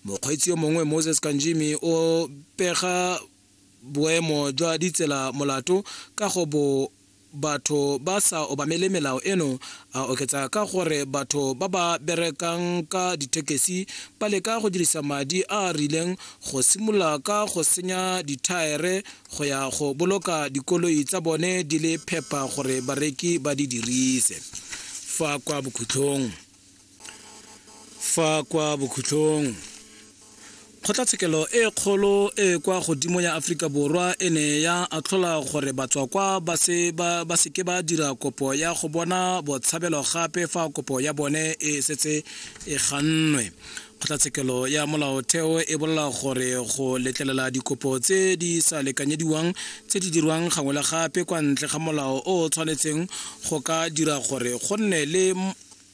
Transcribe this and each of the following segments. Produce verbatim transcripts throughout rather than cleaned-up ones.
Mokgweetsi yo mongwe Moses Kanjimi o pega boemo jwa ditsela molato ka go bo batho ba sa obamele melao eno, a oketsa ka gore batho ba ba berekang ka dithekesi ba leka go dirisa madi a a rileng go simolola ka go senya dithaere go ya go boloka dikoloi tsa bone di le phepa gore bareki ba di dirise. Fa kwa bokhutlong fa kwa bokhutlong Kgotlatshekelo e kgolo e kwa godimo ya Aforika Borwa e ne ya atlhola gore batswakwa ba se ba ba seke ba dira kopo ya go bona botshabelo gape fa kopo ya bone e setse e gannwe. Kgotlatshekelo ya Molaotheo e bolela gore go letlelela dikopo tse di sa lekanyediwang tse di dirwang gangwe le gape kwa ntle ga molao o o tshwanetseng go ka dira gore go nne le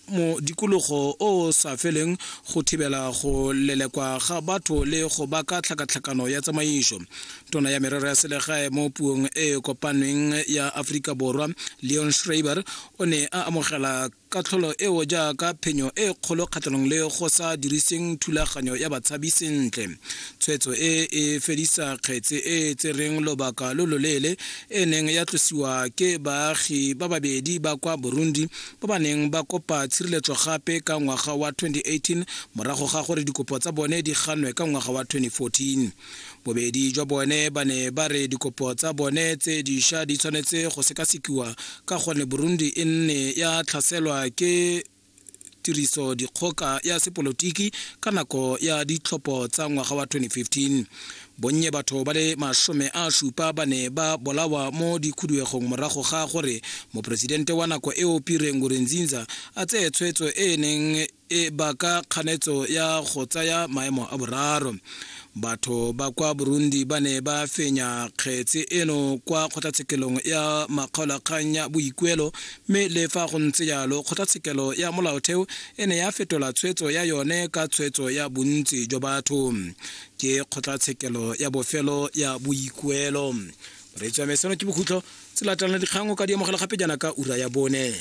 modikologo o sa feleng go thibela go lelekwa ga batho le go baka tlhakatlhakano ya tsamaiso. Tona ya merero ya selegae mo puong e kopanweng ya Aforika Borwa Leon Schreiber o ne a amogela katlholo eo jaaka phenyo e kgolo kgatlhanong le go sa diriseng thulaganyo ya batshabi sentle. Tshwetso e e fedisa kgetse e e tsereng lobaka lo loleele e neng ya tlosiwa ke baagi ba babedi ba kwa Burundi ba ba neng ba kopa tshireletso gape ka ngwaga wa twenty eighteen morago ga gore dikopo tsa bone di ganwe ka ngwaga wa twenty fourteen. Bobedi jwa bone ba ne ba re dikopo tsa bone tse dišwa di tshwanetse go sekasekiwa ka gonne Burundi e nne ya tlhaselwa ke tiriso dikgoka ya sepolotiki ka nako ya ditlhopho tsa ngwaga wa twenty fifteen. Bonnye batho ba le masome a supa ba ne ba bolawa mo dikhuduegong morago ga gore moporesidente wa nako eo Pierre Nkurunziza a tseye tshwetso e neng e baka kganetso ya go tsaya maemo a boraro. Batho ba kwa Burundi ba ne ba fenya kgetse eno kwa kgotlatshekelong ya makgaolakgang ya boikuelo, mme le fa go ntse jalo kgotlatshekelo ya Molaotheo e ne ya fetola tshwetso ya yone ka tshwetso ya bontsi jwa batho. Ke kgotlatshekelo ya bofelo ya boikuelo. Moreetsi wa me, seno ke bokhutlo. Tse latelang dikgang o ka di amogela gape jaana ka ura ya bone.